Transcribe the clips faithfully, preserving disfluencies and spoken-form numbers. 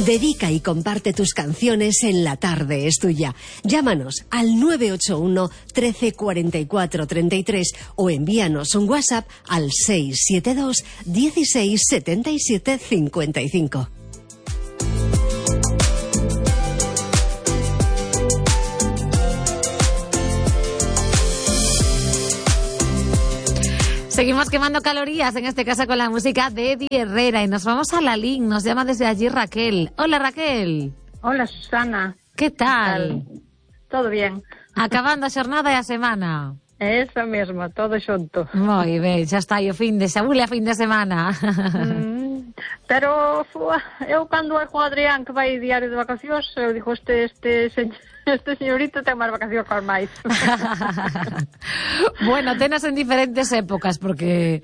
Dedica y comparte tus canciones en La Tarde es Tuya. Llámanos al nueve ocho uno, trece, cuarenta y cuatro, treinta y tres o envíanos un WhatsApp al seis siete dos, dieciséis, setenta y siete, cincuenta y cinco. Seguimos quemando calorías, en este caso con la música de Eddie Herrera, y nos vamos a la Lin, nos llama desde allí Raquel. Hola, Raquel. Hola, Susana. ¿Qué tal? ¿Qué tal? Todo bien. Acabando a xornada e a semana. Eso mesmo, todo xunto. Moi ben, xa está aí o fin de xabule a fin de semana. Mm, pero fua, eu cando vai co Adrián que vai diario de vacacións, eu digo, este, este, este señorito ten máis vacacións que os máis. Bueno, tenas en diferentes épocas, porque...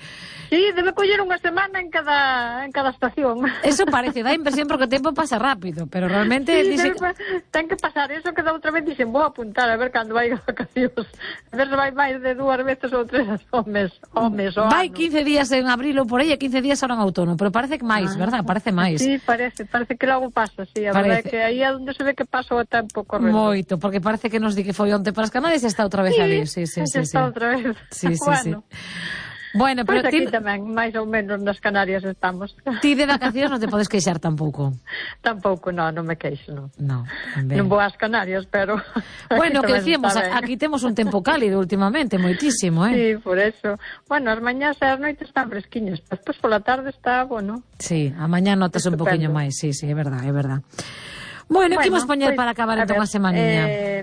Sí, debe coller unha semana en cada en cada estación. Eso parece, dá impresión porque o tempo pasa rápido, pero realmente... Sí, dice... debe, ten que pasar eso que da outra vez dixen, vou apuntar a ver cando vai de vacacións. A ver se vai máis de dúas veces ou tres ao mes, ao mes, ao vai ano. quince días en abril ou por aí e quince días ahora en outono, pero parece que máis, ah, verdad? Parece máis. Sí, parece, parece que logo pasa, sí, a verdade é que aí é onde se ve que pasa o tempo correndo. Moito, porque parece que nos di que foi onte para as Canarias e está outra vez sí, ali. Sí, sí, sí, está sí. outra vez. Sí, sí, bueno. sí. Bueno, pero pues aquí ti... tamén, máis ou menos nas Canarias estamos. Ti de vacacións non te podes queixar tampouco. Tampouco, non, non me queixo, non. No, non vou ás Canarias, pero... Bueno, que decíamos, aquí temos un tempo cálido últimamente, moitísimo, eh? Sí, por eso. Bueno, as mañás e as noites están fresquiñas, despois pola tarde está, bueno... Sí, a mañá notas un poquinho máis, sí, sí, é verdad, é verdad. Bueno, bueno, que imos poñer pues, para acabar entón a semaniña? Eh,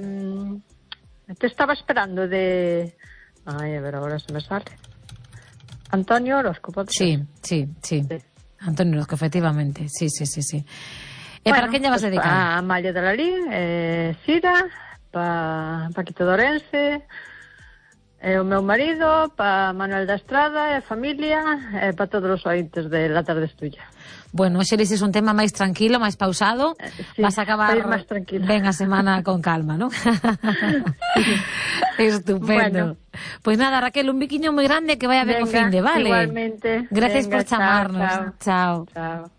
te estaba esperando de... Ai, a ver, agora se me sale... Antonio Orozco, pode sí, sí, sí, sí. Antonio Orozco, efectivamente. Sí, sí, sí, sí. E bueno, para quen lle vas pues dedicar? A Amalia de la Lín, eh, Sira, pa Paquito Dorense, e o meu marido, pa Manuel da Estrada, e familia, e pa todos os ointes de La Tarde es Tuya. Bueno, xe dices un tema máis tranquilo, máis pausado, sí, vas a acabar máis tranquilo. Ben a semana con calma, ¿no? Estupendo. Bueno. Pois pues nada, Raquel, un biquiño moi grande, que vaya ben o fin de, vale? Igualmente. Gracias venga, por chamarnos. Chao. Chao. Chao.